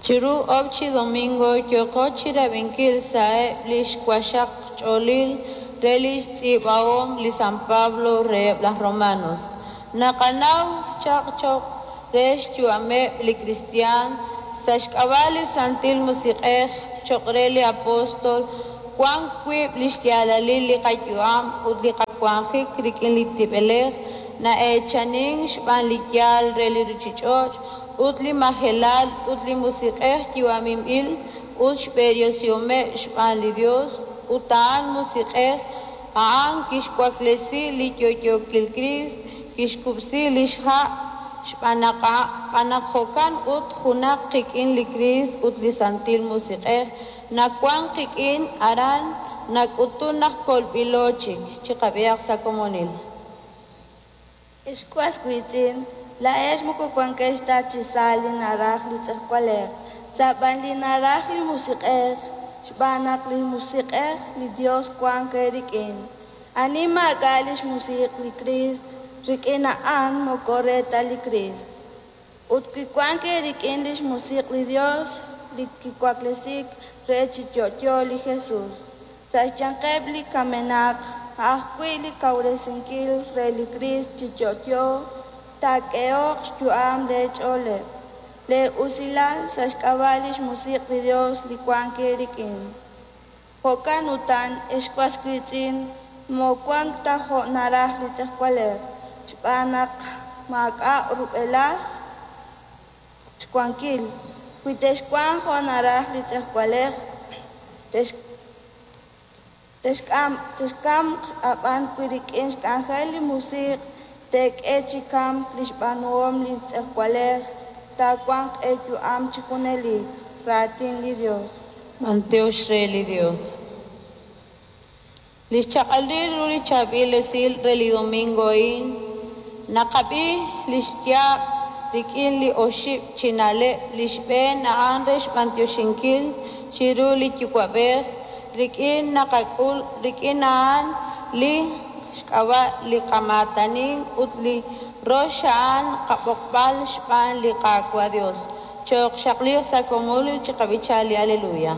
Chiru oob' chi domingo yooqo chirab'inkil sa'eb' li xwaqxaq ch'oolil re lix tz'iib'ahom li San Pablo reheb' laj Romanos. Naqanaw chaq choq' re xyu'ameb' li kristiaan sa' xk'ab'a' li Santil Musiq'ej. Choq' re li apostol, wan wiib' lix yaalalil li qayu'am ut li qawanjik rik'in li tib'elej na'eechanin xb'aan li yaal re li ruchich'och' ut li majelal ut li musiq'ej yu'aminb'il ut xb'eresihomeb' xb'aan li Dios ut a'an musiq'ej a'an kixwaklesi li yo'yookil Kriist kixkub'si lix ha' xb'aan naq jo'kan ut junaq qik'in li Kriist ut li Santil Musiq'ej nawan qik'in aran nak'utun naq kolb'ilo chik. Chiqab'ihaq sa' komonil. Ex was wiitz'in, laa'ex moko wankex ta chi sa' li naraj li tz'ejwalej, sa' b'an li naraj li Musiq'ej, xb'aan naq li Musiq'ej li Yos wank eerik'in. Ani maak'a' li xmusiq' li Kriist rik'in a'an moko re ta li Kriist. Ut wi wank eerik'in li xmusiq' li Yos li kiwaklesik re chi yo'yo li Jesus sa' xyanqeb' li kamenaq, a' ajwi' li kawresinkil re li Kriist chi yo'yo taak'ehoq xyu'am leech'ooleb', lee'usilal sa' xk'ab'a' li xmusiq' li Yos li wank eerik'in. Jo'kan utan, ex was wiitz'in, moowank ta jo' naraj li tz'ejwalej, xb'aan naq maak'a' rub'elaj xwankil. Wi texwanq jo' naraj li tz'ejwalej, texkamq, ab'an wi rik'in xk'anjel li Musiq' teek'e chi kamk li xb'aanuhom li tz'ejwalej, taawanq eeyu'am chi junelik. Raatin li Yos. B'antiox re li Dios. Li xchaq'alil ru li chaab'il esil re li domingo a'in, naqab'i li xyaab' rik'in li oxib' chi na'leb'. Li xb'een a'an re xb'antioxinkil chiru li Yuwa'b'ej rik'in naqak'ul rik'in a'an li xk'ab'a' li qamaatanin ut li rox a'an qab'oqb'al xb'aan li Qaawa' Dios. Choq xaqliiq sa' komonil chiqab'icha li Aleluya.